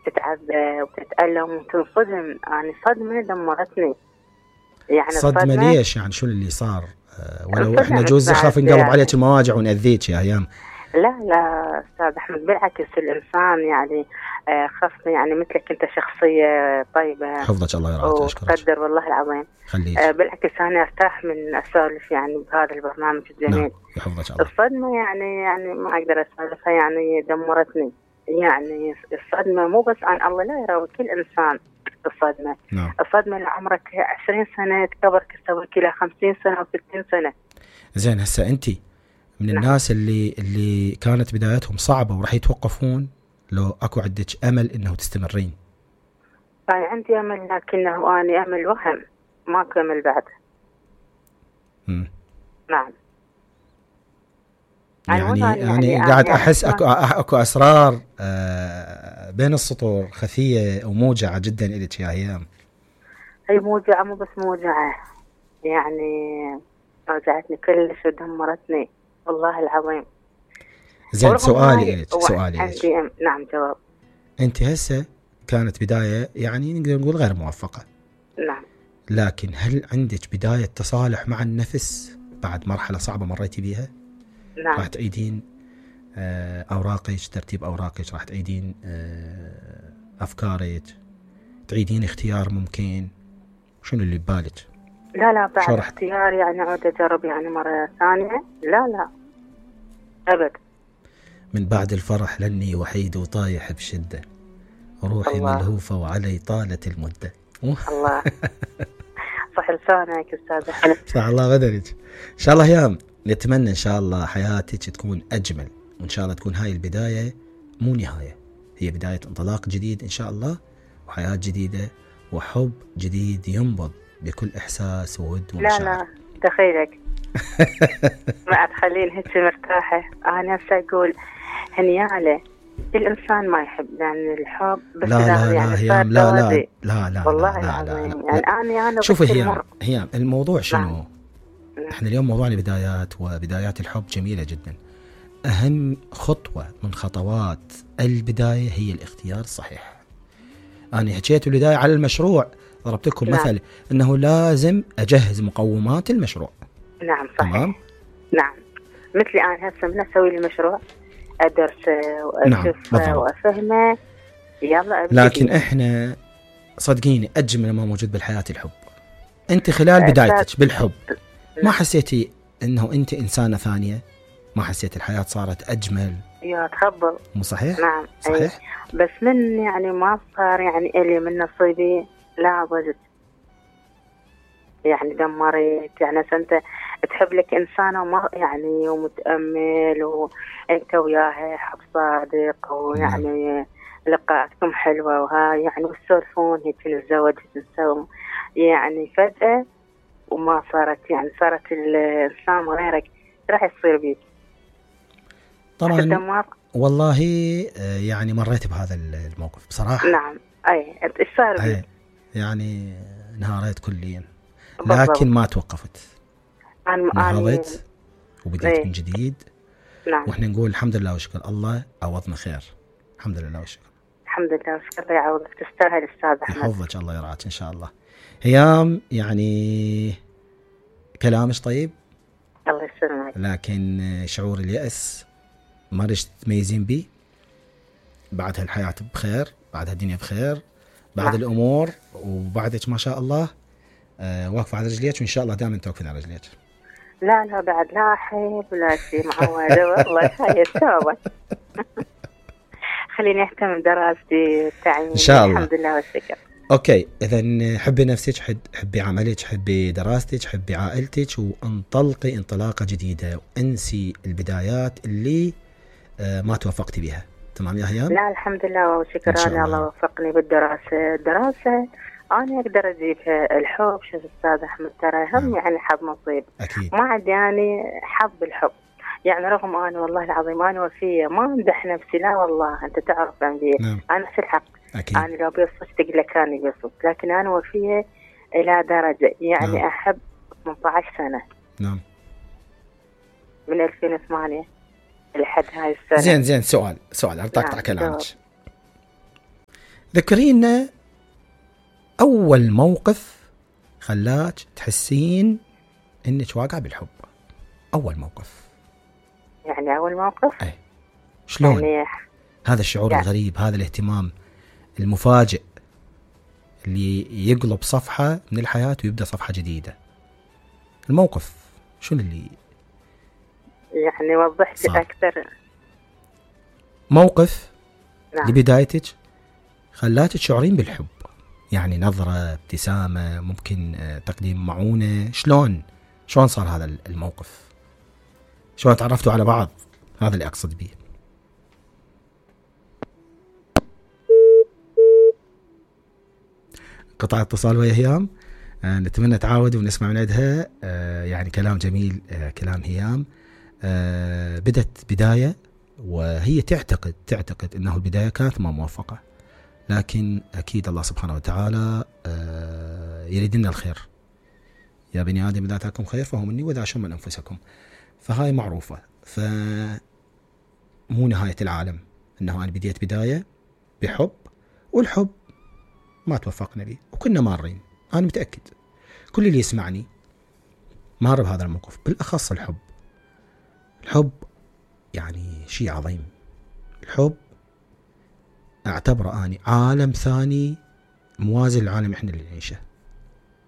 تتعذب وتتألم وتنصدم. يعني صدمة دمرتني. يعني صدمة ليش؟ يعني شو اللي صار؟ ولو احنا انصدمت جوز يخاف بعد ينقلب يعني. عليك المواجع ونأذيك يا هيام. لا أستاذ أحمد، بالعكس الإنسان يعني خاصة يعني مثلك أنت شخصية طيبة حفظك الله يرعاك. أشكرك. وتقدر والله العظيم. خليك. بالعكس أنا أرتاح من أسولف يعني بهذا البرنامج الجميل. نعم يحفظك الله. الصدمة يعني ما أقدر أسولفها، يعني دمرتني. يعني الصدمة مو بس عن الله، لا يراوي كل إنسان الصدمة. نعم. الصدمة اللي عمرك 20 سنة تكبرك تسويك إلى 50 سنة أو 60 سنة. زين هسه أنت من نعم. الناس اللي كانت بداياتهم صعبة وراح يتوقفون، لو أكو عندك أمل إنه تستمرين؟ يعني عندي أمل، لكنه أنا أمل وهم، ما كمل بعد. نعم. يعني قاعد أحس أكو أسرار بين السطور خفية وموجعة جدا إليك يا هيام. هي موجعة، مو بس موجعة، يعني وجعتني كلش ودمرتني والله العظيم. زين سؤالي عندي نعم جواب. أنت هسه كانت بداية يعني نقدر نقول غير موفقة. نعم. لكن هل عندك بداية تصالح مع النفس بعد مرحلة صعبة مريتي بيها؟ نعم. راح تعيدين أوراقك، ترتيب أوراقك، راح تعيدين أفكارك، تعيدين اختيار ممكن. شنو اللي ببالك؟ لا بعد اختيار يعني أعود أجرب يعني مرة ثانية. لا أبد. من بعد الفرح لاني وحيد وطايح بشدة، روحي ملهوفة وعلي طالت المدة. الله صح لسانك أستاذ أحمد. صح الله بدرك. إن شاء الله يام نتمنى إن شاء الله حياتك تكون أجمل، وإن شاء الله تكون هاي البداية مو نهاية، هي بداية انطلاق جديد إن شاء الله، وحياة جديدة وحب جديد ينبض بكل إحساس وود ومشاعر. لا دخيلك ما تخلين هيك مرتاحة. أنا نفسي أقول هنيالة الإنسان ما يحب، لأن الحب بس لا يعني هيام لا والله العظيم. يعني أنا شوفي هيام الموضوع شنو؟ نعم. احنا اليوم موضوعنا البدايات، وبدايات الحب جميلة جدا. أهم خطوة من خطوات البداية هي الاختيار الصحيح. أنا حكيت البداية على المشروع، ضربت لكم مثل أنه لازم أجهز مقومات المشروع. نعم صحيح. تمام. نعم مثلي أنا هسه من أسوي لي مشروع أدرسه وأشوفه وأفهمه، يلا أبدي. لكن إحنا صدقيني أجمل ما موجود بالحياة الحب. أنت خلال بدايتك بالحب ما حسيتي أنه أنت إنسانة ثانية؟ ما حسيت الحياة صارت أجمل؟ يا تخبل. مو صحيح؟ نعم صحيح. بس من يعني ما صار يعني إلي من نصيبي، لا ضجت يعني دمرت. يعني أنت تحب لك إنسانة وما يعني ومتأمل وأنت وياها حب صادق، ويعني لقاءاتكم حلوة وهاي يعني وتسولفون هيك نتزوج نسوي، يعني فجأة وما صارت، يعني صارت الإنسان غيرك، راح يصير بيك طبعا. والله يعني مريت بهذا الموقف بصراحة. نعم إيش صار بيك؟ يعني انهاريت كليا، لكن ما توقفت، نهضت وبديت من جديد. نعم. واحنا نقول الحمد لله وشكر الله عوضنا خير. الحمد لله وشكر. الحمد لله وشكر يعوضك، تستاهل أستاذ أحمد. يحفظك الله يرعاك إن شاء الله. هيام يعني كلامش طيب، الله يسلمك، لكن شعور اليأس ما رش تميزين بيه. بعد هالحياة بخير، بعد هالدنيا بخير، بعد الأمور وبعدك ما شاء الله واقفة على رجليك، وإن شاء الله دائما توقفين على رجليك. لا بعد لا أحب ولا شيء معوده والله هاي التوبة. خليني أهتم بدراستي تعليمي إن شاء الله. الحمد لله والشكر. أوكي إذن حبي نفسك، حبي عملك، حبي دراستك، حبي عائلتك، وانطلقي انطلاقة جديدة، وانسي البدايات اللي ما توفقتي بها. تمام يا هيام؟ لا الحمد لله والشكر. أنا الله وفقني بالدراسة. الدراسة أنا أقدر أجيبها. الحب شو أستاذ أحمد ترى هم يعني حظ نصيب. أكيد. ما عندي يعني حظ بالحب، يعني رغم أنا والله العظيم أنا وفية، ما أمدح نفسي، لا والله أنت تعرف عندي أنا في الحق. أكيد. أنا لو بيصفت تقول لك كان بيصفت، لكن أنا وفية إلى درجة يعني أحب 18 سنة. نعم. من 2008 لحد هاي السنة. زين سؤال أرتقطع كلامك. ذكرينا أول موقف خلاك تحسين إنك واقعة بالحب. أول موقف. يعني أول موقف؟ أي. شلون؟ يعني هذا الشعور يعني الغريب، هذا الاهتمام المفاجئ اللي يقلب صفحة من الحياة ويبدأ صفحة جديدة. الموقف شنو اللي يعني وضح لي أكثر. موقف نعم. لبدايتك خلاتك تشعرين بالحب، يعني نظرة، ابتسامة، ممكن تقديم معونة. شلون صار هذا الموقف؟ شلون تعرفتوا على بعض؟ هذا اللي أقصد به. قطع اتصال ويا هيام. نتمنى تعاود ونسمع من عندها. يعني كلام جميل، كلام هيام. بدت بداية وهي تعتقد أنه البداية كانت ما موفقة، لكن أكيد الله سبحانه وتعالى يريد لنا الخير. يا بني آدم إذا أتاكم خير فهو مني وإذا شر من أنفسكم. فهاي معروفة، فمو نهاية العالم أنه أنا بديت بداية بحب، والحب ما توفقنا به وكنا مارين. أنا متأكد كل اللي يسمعني مار بهذا الموقف، بالأخص الحب يعني شيء عظيم. الحب أعتبره أني عالم ثاني موازي للعالم إحنا اللي نعيشه،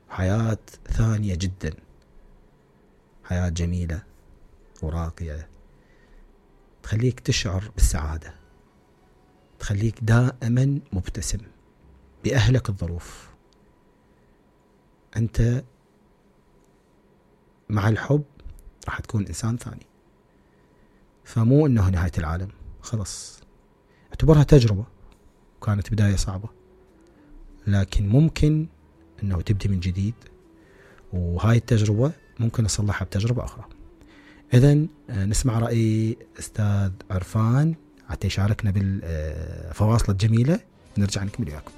حياة ثانية جدا، حياة جميلة وراقية تخليك تشعر بالسعادة، تخليك دائما مبتسم بأهلك الظروف. أنت مع الحب راح تكون إنسان ثاني. فمو إنه نهاية العالم، خلص اعتبرها تجربة، كانت بداية صعبة، لكن ممكن إنه تبدي من جديد، وهاي التجربة ممكن نصلحها بتجربة أخرى. إذن نسمع رأي أستاذ عرفان حتى يشاركنا بالفواصل الجميلة، نرجع نكمل وياكم.